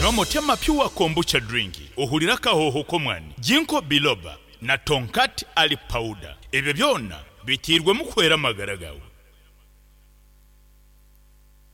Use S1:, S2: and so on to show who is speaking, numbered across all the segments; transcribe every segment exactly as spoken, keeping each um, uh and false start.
S1: Nywa Motema Pure Kombucha Drink ohurire akahooho k'omwani, Ginkgo Biloba na Tongkat Ali Powder. Ebyo byona biteirwemu kuhwera amagara gaawe.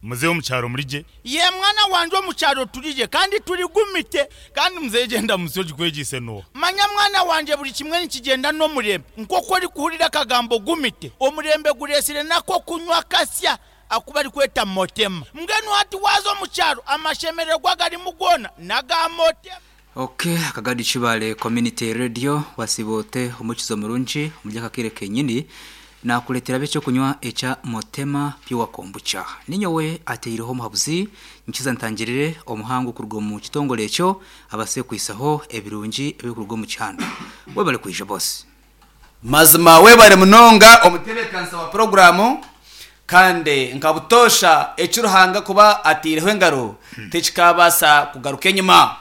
S1: Muzeeyi omu kyaro muri gye? Yee mwana wangye omu kyaro turi gye kandi turi gumite. Kandi muzeeyi egyo endamutsyo ogikwegyeise n'oha? Manya mwana wangye buri kimwe nikigyenda n'omurembe. Nk'oku orikuhurira akagambo gumite, omurembe gureetsire n'ak'okunywa akasya aku barikweta Motema. Mbwenu hati waaza omu kyaro amashemererwa agarimu goona n'aga Motema.
S2: Ok, Akagadi Kibale Community Radio wasiiba ote omukizo murungi omuri aka kaire kenyini nakuretera eky'okunywa ekya Motema Pure Kombucha. Ninyowe ateireho omuhabuzi nkiza ntangirire omuhangu kuruga omu kitongore ekyo abase kwisaho ebirungi ebirikuruga omu kihanda. Webale kwija boss.
S3: Mazima webare munonga omutebeekanisa wa puroguraamu kandi nka butoosha eki Ruhanga kuba ataireho engaro tikikaabaasa kugaruka enyima.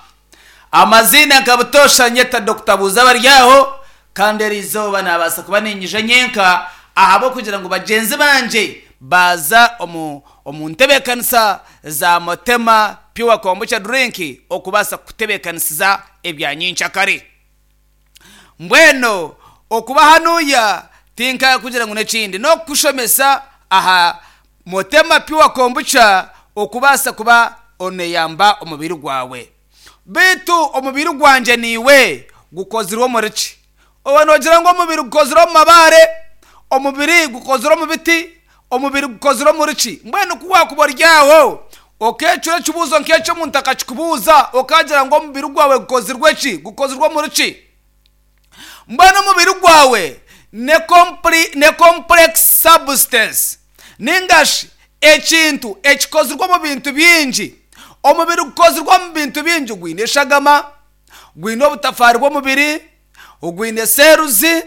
S3: Amaziina nka butoosha nyeta Dokita Buuza Baryaho kandi eri izooba naabaasa kuba niinyija nyenka ahabw'okugira ngu bagyenzi bangye baaza omu omu ntebeekanisa za Motema Pure Kombucha Drink okubaasa kukutebeekanisiza ebya nyenkyakare. Mbwenu okuba hanuya tinkakugira ngu n'ekindi n'okukushomesa aha Motema Pure Kombucha okubaasa kuba oneyamba omubiri gwawe. Beitu omubiri gwangye naiwe gukozirwe omuri ki? Oba noogira ngu omubiri gukozirwe omu mabaare, omubiri gukozirwe omu biti, omubiri gukozirwe omuri ki? Mbwenu ku waakuba ori aho okeecura ekibuuzo nk'ekyo omuntu akakikubuuza okagira ngu omubiri gwawe gukozirwe ki? Gukozirwe omuri ki? Mbwenu omubiri gwawe ne compli ne complex substance ninga shi ekintu ekikozirwe omu bintu bingi. Omubiri gukozirwe omu bintu bingi gwine eshagama, gwine obutafaari bw'omubiri, gwine seeruzi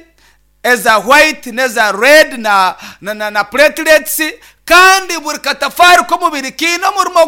S3: eza white n'eza red na na na platelets kandi buri katafaari k'omubiri kaine omurimo.